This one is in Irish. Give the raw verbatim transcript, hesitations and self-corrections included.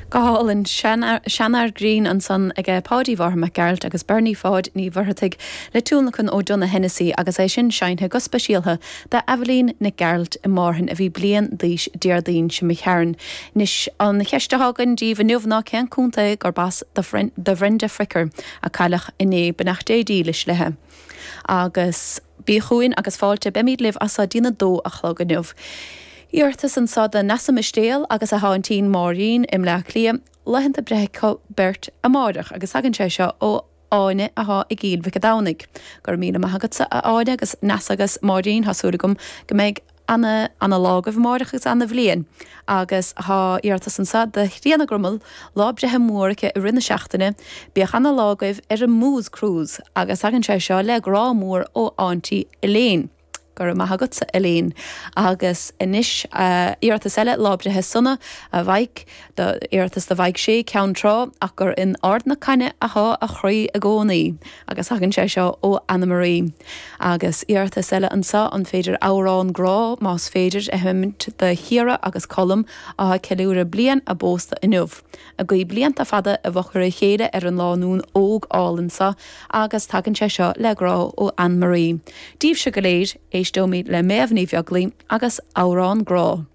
Go hálainn Seanfhear Grinn ansan ag Páidí Mhártha Mac Gearailt agus Bernie Pháid Ní Mhuircheartaigh le tionlacan ó Donogh Hennessy agus é sin seinnte go speisialta d'Eibhlín Nic Gearailt i Márthain a bhí bliain d'aois Déardaoin seo imigh tharainn. Anois an cheist atá againn daoibh inniu ná cén contae gurb as do Bhrenda Fricker a cailleadh inné beannacht Dé dílis léi. Agus bí chugainn agus fáilte beimid libh as dtína dó a chlog inniu. Iarratas anseo do Neasa Mistéal agus a haintín Máirín i mBleá Cliath, laethanta breithe beirt amárach agus tagann sé seo ó Áine atá i gCill Mhic an Domhnaigh. Gur míle maith agatsa a Áine agus Neasa agus Máirín tá súil agam go mbeidh ana ana lá agaibh amárach agus ana bhliain. agus tá iarratas anseo do Thríona Grummel lá breithe mór aici i rith na seachtaine, bíodh ana lá agaibh ar an Moose Cruise agus tagann sé seo le grá mór ó Auntie Elaine. Go raibh maith agatsa Elaine agus anois uh, iarratas eile lá breithe sona a Mhaidhc iarratas do Mhaidhc Sé Ceann Trá ach gur in Ard na Caine atá a chroí i gcónaí agus tagann sé seo ó Anna Marie. Agus iarratas eile anseo an féidir amhrán grá más féidir a sheinnt do Chiara agus Colm atá ceiliúradh bliain a bpósta inniu. A guí blianta fada i bhfochair a chéile ar an lánúin óg álainn seo agus tagann sé seo le grá ó Anne Marie. Daoibhse go léir éisteoimid le Méabh Ní Bheaglaoich agus amhrán grá.